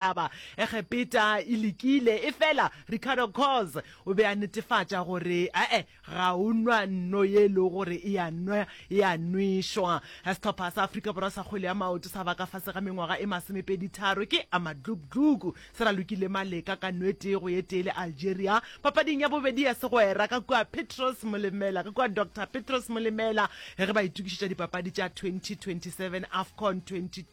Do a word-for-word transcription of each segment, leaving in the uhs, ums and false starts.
Aba Egepeta e lekile, efela Ricardo Coz o be a netefatša gore ae ga o nwa nno ye e lego gore e a nwa e a nwešwa. Sehlopha sa Afrika Borwa sa kgwele ya maoto sa ba ka fase ga mengwaga e masomepedi tharo ke Amadlugdlugu se ralokile Maleka ka nno e tee go ye tee le Algeria papading ya bobedi ya segwera ka kua Petros Molemela ka kua Doctor Petros Molemela ge ba itokišetša dipapadi tša twenty twenty seven AFCON twenty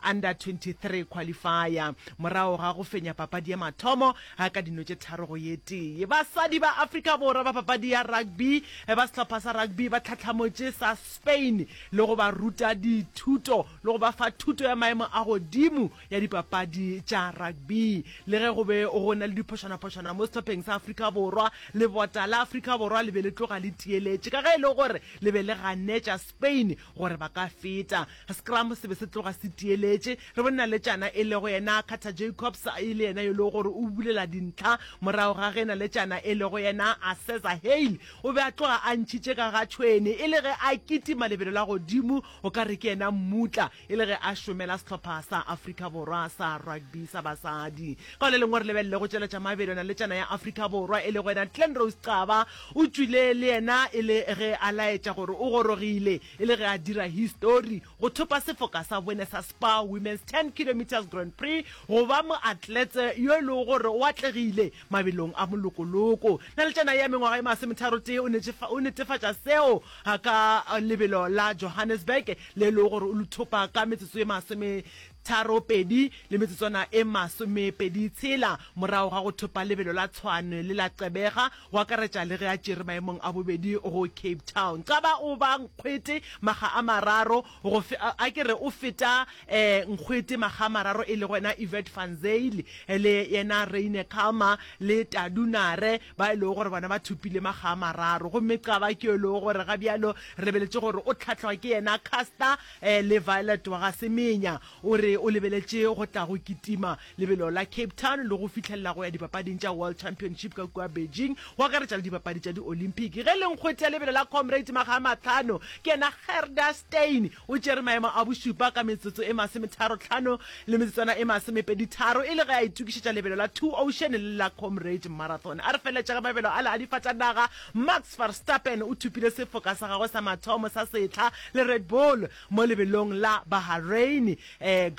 Under twenty three Qualifier morago ga go fenya papadi ya mathomo ka dino tše tharo go ye tee. Basadi ba Afrika Borwa ba papadi ya rugby ba sehlopha sa rugby ba tlhahlamotše sa Spain le go ba ruta dithuto le go ba fa thuto ya maemo a godimo ya dipapadi tša rugby. Le ge go be go na le diphošwanaphošwana mo sehlopheng sa Afrika Borwa, lebota la Afrika Borwa le be le tloga le tieletše ka ge e le gore le be le ganetša Spain gore ba ka feta. Scrum se be se tloga se tieletše. Re bone naletšana e lego yena Carter Jacobs e le yena yo e lego gore o bulela dintlha morago ga ge naletšana e lego yena Aseza Hale o be a tloga a ntšhitše ka ga tšhwene e le ge a kitima lebelo la godimo o ka re ke yena mmutla e le ge a šomela sehlopha sa Afrika Borwa sa rugby sa basadi. Ka le lengwe re lebelele go tšweletša mabelo naletšana ya Afrika Borwa e lego yena Glenrose Xaba o tšwile le yena e le ge a laetša gore o gorogile e le ge a dira histori go thopa sefoka sa bone sa Spar Women's ten kilometres Grand Prix go ba moatletse yo e lego gore o atlegile mabelong a molokoloko. Naletšana ya mengwaga e masometharotee o o netefatša seo ka lebelo la Johannesburg le e lego gore o le thopa ka metsotso e masometharopedi le metsotswana e masomepedi tshela morago ga go thopa lebelo la Tshwane le la Gqeberha go akaretša le ge a tšere maemong a bobedi go Cape Town. Xaba o ba nkgwete makga a mararo go fe, a ke re o feta nkgwete makga a mararo e lego yena Yvette van Zyl le yena Reine Kalmer le Tadu Nare ba e lego gore bona ba thopile makga a mararo. Gomme Xaba ke yo e lego gore ga bjalo re lebeletše gore o hlahlwa ke yena Caster le Violet wa ga Semenya. O re o lebeletše go tla go kitima lebelo la Cape Town le go fihlelela go ya dipapading tša World Championship ka kua Beijing, go akaretša le dipapadi tša di-Olympic. Ge le nkgwete ya lebelo la Comrades makga a mahlano, ke yena Gerda Steyn o tšere maemo a bošupa ka metsotso e masometharo-hlano le metsotswana e masomepedi-tharo e le ge a itokišetša lebelo la Two Ocean le la Comrades Marathon. A re feleletša ka mabelo ale a difatanaga, Max Verstappen o thopile sefoka sa gagwe sa mathomo sa sehla le Red Bull mo lebelong la Bahrain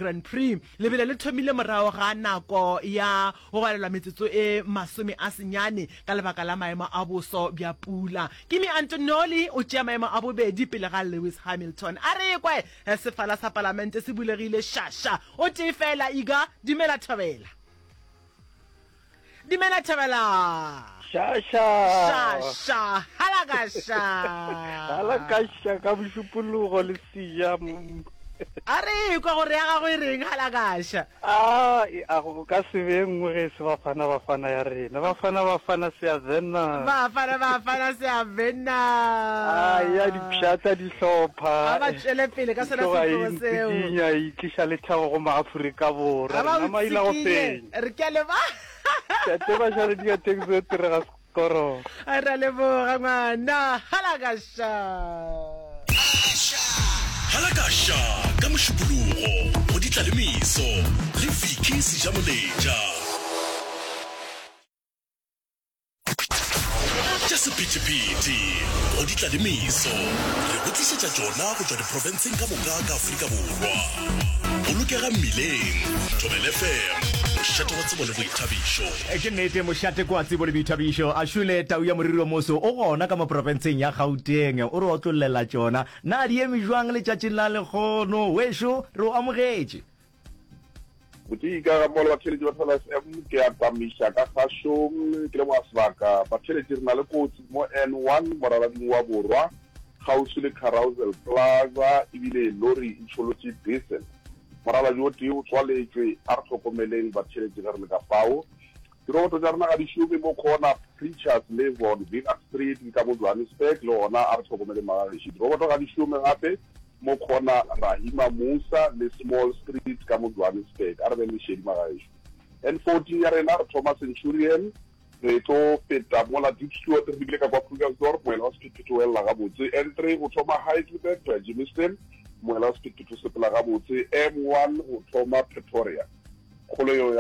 Grand Prix. Lebelo le thomile morago ga nako ya go balelwa metsotso e masome a senyane ka lebaka la maemo a boso bja pula. Kimi Antonelli o tšea maemo a bobedi pele ga Lewis Hamilton. A re kwe, sefala sa palamente se bulegile šaša. O tee fela, Iga, dumela thobela. Dumela Thabela. Šaša. Šaša. Halakaša. Halakaša ka mošupologo le seja. A re kwa gore ya gago e reng halakaša. A a go ka se be nngwe ge e se Bafana Bafana ya rena. Bafana Bafana se a vena. Bafana Bafana se a vena. A ya di pšhatla dihlopha. A ba tšwele pele ka sona setlogo seo. E e tliša lethabo go Maafrika Borwa. A ba Rena maila go tsikinye. fenya. Re ke a leba. Ke a tseba jale di ka taxi o tirega sekoro. Re a leboga ngwana. Halakasha. Halakasha ka Mošupologo go Ditlalemeso le Vicky Sejamoletša. Tša sephethephethe go di tla le meso. Re go tlišetša tšona go tšwa diprofenseng ka moka ka Afrika Borwa. Bolokega mmileng. Thobela F M, mošate wa tsebo le boithabišo. Ke nnete, mošate ke wa tsebo le boithabišo. A šole tau ya moriri o moso o gona ka mo profenseng ya Gauteng. O re otlollela tšona. Na di eme bjang letšatšing la lekgono? Wešo, re o amogetše. Botee ka ga mmogo le batheeletši ba Thobela F M ke a tamiša ka kgašong ke leboga sebaka. Batheeletši re na le kotsi mo N one moralading wa Borwa kgauswi le Carousel Plaza ebile lori e tšholotše diesel. Moraladi o tee o tswaletšwe, a re hlokomeleng batheeletši ge re le ka fao. Diroboto tša rena ga di šome mo corner Preachers le Von Wienacht Street ke ka mo Johannesburg le gona a re hlokomeleng magagešo. Diroboto ga di šome gape mo corner Rahima Moosa le Small Street ka mo Johannesburg. A re beng le šedi magagešo. N fourteen ya rena re thoma Centurion re tlo feta mola Diepsloot re lebile ka kwa Krugersdorp moela wa sephethephethe o elela gabotse. N three go thoma Heidelberg go ya Germiston moela wa sephethephethe o sepela gabotse. M one go thoma Pretoria. Kgolo yeo ya